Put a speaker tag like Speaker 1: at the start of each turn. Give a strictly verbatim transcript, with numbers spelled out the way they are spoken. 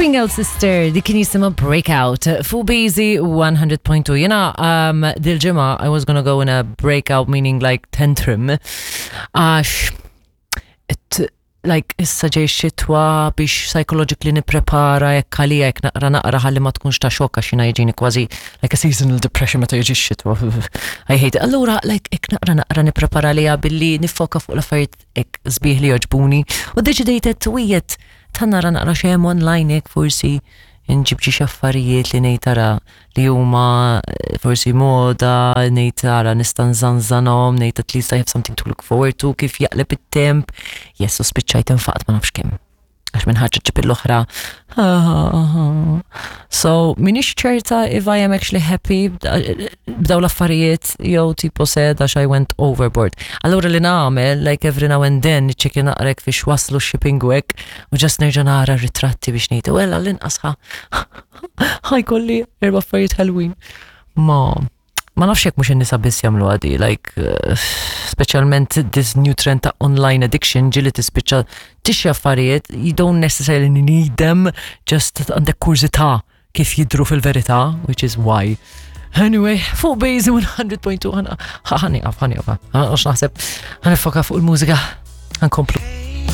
Speaker 1: Swing Out Sister, dik kien jisimha Breakout. Fuq Bazy one hundred point two. Jena, um, dil-ġimgħa, I was gonna go in a breakout, meaning like tantrum. Għax, it, like, issa ġej xitwa, biex psychologically niprepara jekk għalija jekk naqra naqra ħalli ma tkunx ta' xokk, għax jiena jiġini kważi like a seasonal depression meta jiġi x-xitwa. I hate it. Allura, like, jekk naqra naqra niprepara għalija billi nifoka fuq l-affarijiet hekk sbieħ li jogħġbuni. U deċidejt twijet ta' nara naqra xem online, jekk forsi nġib xi affarijiet li ngħid tara li huma eh, forsi moda, ngħid tara nista' nżanżanhom, ngħid at least I have something to look forward to kif jaqleb it-temp. Yes, u spiċċajt infaqt ma nafx kemm. Għax minn ħaġa ġib l-oħra. So, minix ċerta if I am actually happy b'daw l-affarijiet jew tipo sad għax I went overboard. Allura li nagħmel, like, every now and then, niċċekkja naqra fiex waslu shipping u hekk, u just nerġa' nara ritratti biex ngħid, well, għall-inqas ħa ħa jkolli erba' affarijiet ħelwin. Ma ma nafx jekk mhux in-nisa biss jagħmlu għadi, like uh, speċjalment this new trend ta' online addiction, ġieli tispiċċa tixtri affarijiet you don't necessarily need them, just għandek kurżità kif jidru fil-verità, which is why. Anyway, fuq Bazy one hundred point two, ħa nieqaf, ħa nieqaf, għax naħseb ħa niffoka fuq il-mużika, ħa nkomplu.